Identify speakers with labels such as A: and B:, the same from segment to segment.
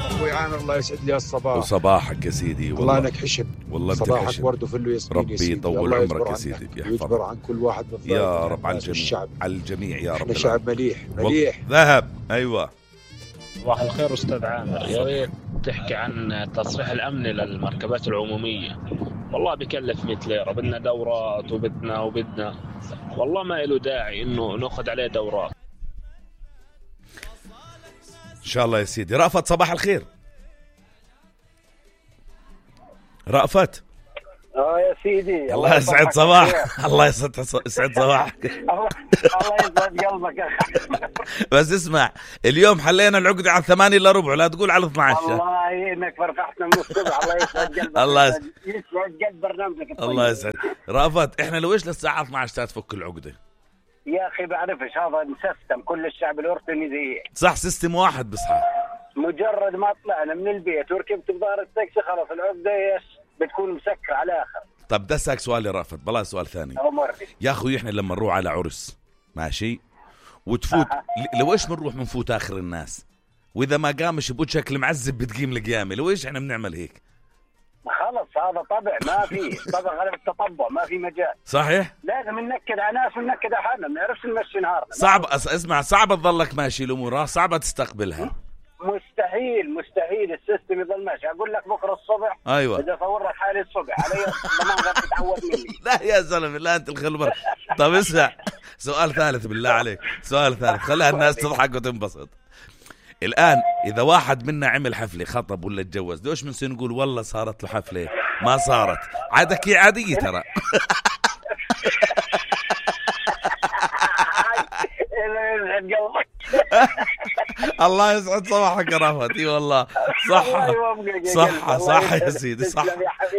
A: أخوي عامر الله يسعد لي الصباح
B: وصباحك يا سيدي.
A: والله انك حشم.
B: والله
A: صباحك
B: بتحشم.
A: ورد وفله ياسمين.
B: ربي يطول عمرك يا سيدي
A: ويجبر عن كل واحد من
B: يا رب على الجميع. على الجميع يا رب.
A: احنا شعب مليح
B: ذهب. ايوه.
C: صباح الخير استاذ عامر، يا ريت تحكي عن التصريح الامني للمركبات العموميه. والله بكلف 100 ليره، بدنا دورات وبدنا والله ما له داعي انه ناخذ عليه دورات.
B: ان شاء الله يا سيدي. رأفت صباح الخير. رأفت
D: يا سيدي
B: الله يسعد صباح. الله يسعد صباحك.
D: الله يسعد قلبك.
B: بس اسمع، اليوم حلينا العقدة على 8 إلا ربع، لا تقول على 12.
D: والله انك فرحتنا من الصبح. الله يسعد قلبك.
B: الله
D: يسعد قلب برنامجك الطيب.
B: الله يسعد. رأفت احنا لو ايش للساعة 12 تفك العقدة؟
D: يا اخي بعرفش، هذا مسيستم كل الشعب الاردني زي
B: صح، سيستم واحد بصحى.
D: مجرد ما طلعنا من البيت وركبت بظهر التاكسي خلاص العقدة بتكون مسكرة على آخر.
B: طب ده ساك سؤال يا رأفت، بلا سؤال ثاني يا أخوي. إحنا لما نروح على عرس ماشي وتفوت لو إيش بنروح منفوت آخر الناس، وإذا ما قامش بوجهك المعذب بتقيم القيامة. لو إيش إحنا بنعمل هيك؟
D: خلص هذا طبع، ما في طبع غير التطبع، ما في مجال.
B: صحيح.
D: لازم ننكد على ناس وننكد على حالنا، ما نعرفش نمشي نهارنا.
B: صعب اسمع، صعبة تظلك ماشي الأمور، صعبة تستقبلها.
D: مستحيل السيستم يضل ماشي. اقول لك بكره الصبح
B: ايوه
D: اذا صور لك حالي الصبح علي ضمان غير تتعود مني.
B: لا يا زلمه، لا انت الخلبر. طب اسمع، سؤال ثالث بالله عليك، سؤال ثالث خليها الناس تضحك وتنبسط. الان اذا واحد منا عمل حفله، خطب ولا اتجوز، دوش بنصير نقول والله صارت له حفله ما صارت؟ عادك عاديه ترى. الله يسعد صباحك يا رفعت. اي والله صح يا سيدي، صح.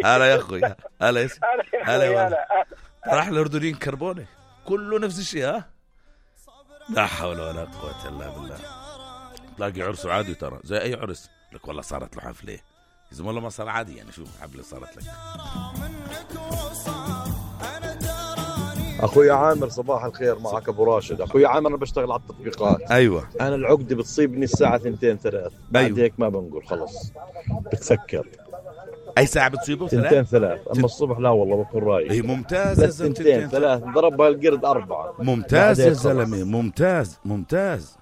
B: هلا يا اخوي، هلا راح الاردنيين كربونه كله نفس الشيء. ها لا حول ولا قوه الا بالله. تلاقي عرسه عادي ترى زي اي عرس، لك والله صارت له حفله. اذا والله ما صار عادي يعني، شوف حفله صارت لك.
E: اخوي عامر صباح الخير، معك ابو راشد. اخوي عامر انا بشتغل على التطبيقات.
B: ايوه.
E: انا العقده بتصيبني الساعه 2 3 بعد هيك ما بنقول خلص بتسكر.
B: اي ساعه بتصيبه؟
E: 2 3 اما الصبح لا والله بكون رايق.
B: اي ممتاز يا زلمه.
E: 2 3 ضربها القرد 4.
B: ممتاز يا زلمه، ممتاز.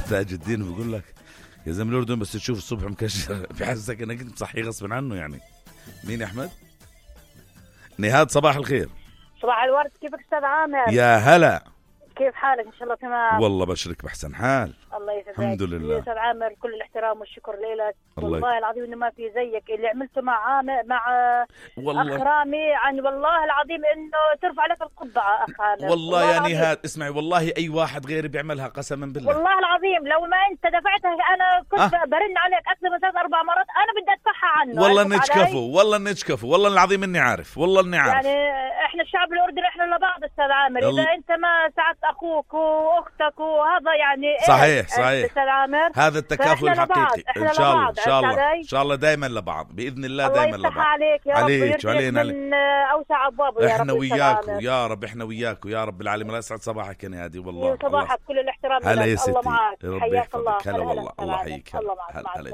B: تاج الدين بيقول لك يا زلمه الاردن بس تشوف الصبح مكشر بحسك انك انت صحي غصب عنه يعني. مين يا احمد؟ نهاد صباح الخير.
F: صباح الورد، كيفك استاذ عامر؟
B: يا هلا،
F: كيف حالك؟ ان شاء الله تمام.
B: والله بشرك بحسن حال.
F: الله يسعدك.
B: الحمد لله
F: استاذ عامر، كل الاحترام والشكر لك. والله العظيم انه ما في زيك اللي عملته مع عامر، مع اخ رامي. عن والله العظيم انه ترفع لك القبعه اخ عامر.
B: والله يا نهاد اسمعي، والله اي واحد غيري بيعملها قسما بالله.
F: والله العظيم لو ما انت دفعتها انا كنت برن عليك اكثر من 3-4 مرات. انا بدي ادفعها عنه.
B: والله نتشكفوا والله العظيم اني عارف، والله اني عارف.
F: يعني احنا الشعب الاردني احنا لبعض استاذ عامر. اذا انت ما ساعدت اخوك واختك وهذا يعني
B: صحيح هذا التكافل الحقيقي. ان شاء الله دايما لبعض باذن الله. دايما لبعض.
F: عليك يا
B: عليك
F: رب وعلينا من اوسع ابوابه.
B: احنا وياكم يا رب، احنا وياكم يا رب العالمين. الله يسعد صباحك يا نادي. والله
F: صباحك كل الاحترام.
B: هلا يا ستي،
F: الله معك.
B: ربي يحفظك. هلا والله، الله يحييك. هلا.